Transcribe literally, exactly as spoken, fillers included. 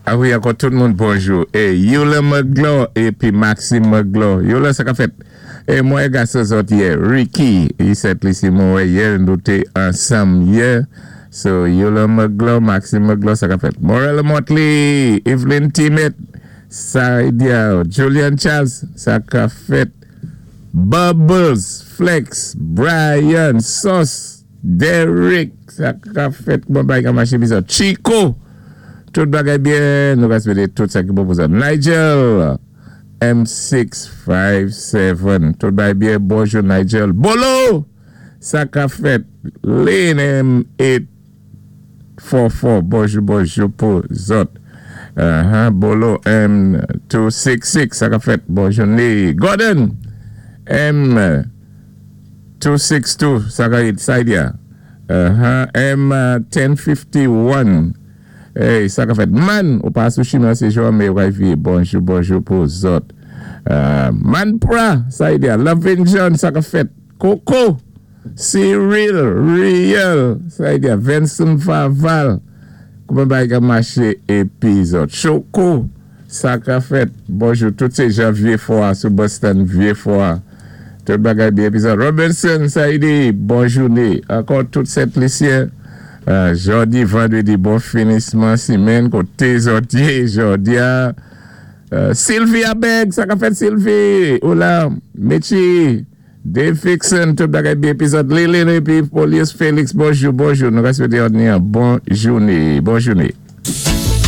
A wi, ankò tout moun bonjou. É Yula Magloire épi Maxime Magloire. Yula, sa ka fèt? É mwen gason zòt yè, Ricky, isit lisi mwen wè yè, nou té ansanm yè. So, Yula Magloire, Maxime Magloire, sa ka fèt? Morella Motley, Evelyn Timet, Saidia, Julian Charles, sa ka fèt? Bubbles, Flex, Brian, Sauce, Derrick, sa ka fèt? Bon bagay ka maché bizò. Chico, tout bagay byen, nou ka swété tout sa ki bon pou sa. Nigel, M sis senk sèt, tout bagay byen, bonjou Nigel. Bolo, sa ka fèt? Lane M ot kat kat, bonjou, bonjou pou zòt. Uh-huh, Bolo M de sis sis, sa ka fèt? Bonjou ni. Gordon, M de sis de, sa ka Saidia. Uh-huh, M en senkanteyen. Hey, sa ka fèt? Man, ou pa sou chimen, sé Jean mais wifi. Bonjou, bonjou pou zòt. Uh, Man Pra, Saidia. Loving John, sa ka fèt? Coco, Cyril, Real, Saidia. Vincent Faval, kouman bagay ka maché épi zòt? Choco, sa ka fèt? Bonjou, tout sé jan Vieux-Fort, sou Boston, Vieux-Fort. Tout bagay byen épi zòt? Robinson, Saidi, bonjou ni. Ankò tout Sent Lisyen. Uh, jòdi, vandrédi, bon finisman simenn, koté zòt yé, jòdi a. Uh, Sylvia Beg, sa ka fèt, Sylvie? Ola, Mechi, Dave Fixon, tout bagay byen épi zòt? Lili épi Polius Félix, bonjou, bonjou. Nou ka swété yon bon jouné, bon jouné.